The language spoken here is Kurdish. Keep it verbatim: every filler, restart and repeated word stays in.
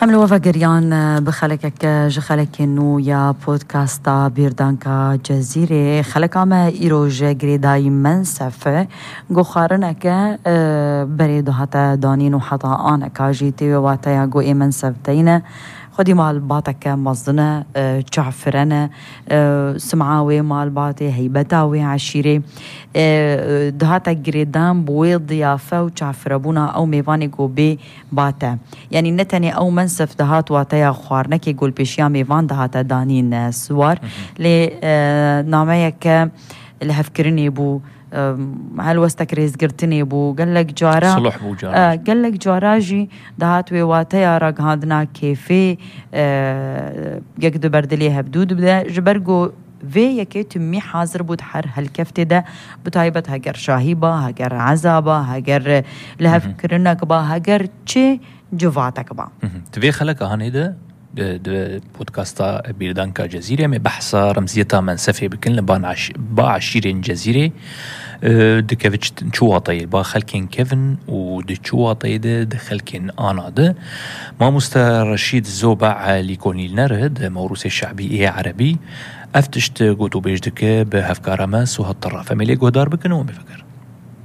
Em li we vegeriyan, e, bi xelekeke ji xelekên nû ya podcasta Bîrdanka Cezîrê. Xeleka me îro ji girêdayî mensef e. Guxarineke, e, berê dihate danîn û heta aneka jî tê wê wateya ku ê mensef deyne. Xwedî malbateke mezin e, e, çavfirene, e, sim'a wê malbatê, heybeta wê eşîrê, e, e, dihate girêdan bi wê diyafe û çavfirebûna ew mêvanê ku bê bate. Yanî ne tenê ew mensef dihat wateya xwarinekê golpêşiya mêvan dihate danîn, e, siwar, lê, e, nameyeke lihevkirinê bû, e, helwestek rêzgirtinê bû, gelek cara, Sulh bû cara. E, gelek cara jî dihat wê wateya ragihandina kêfê, e, yek di ber dilê hevdû dibide, ji ber ku vê yekê timî hazir bû di her helkeftê de, bi taybet heger şahî ba, heger eza ba, heger lihevkirinek ba, heger çi civatek ba. Di vê xeleka hanê de, di, di podcasta Bîrdanka Cezîrê, em ê behsa remziyeta mensefê bikin li ban eş-, ba eşîrên Cezîrê, e, dikeve çi, çi wateyê ba xelkên kevin û di çi wateyê de di xelkên ana de. Mamoste Reşîd Zoba, lîkolîner di Mewrûsê Şebî ê Erebî, ev tişt gotûbêj dike bi hevkara me Suhat Tarraf. Em ê lê guhdar bikin û em ê vegerin.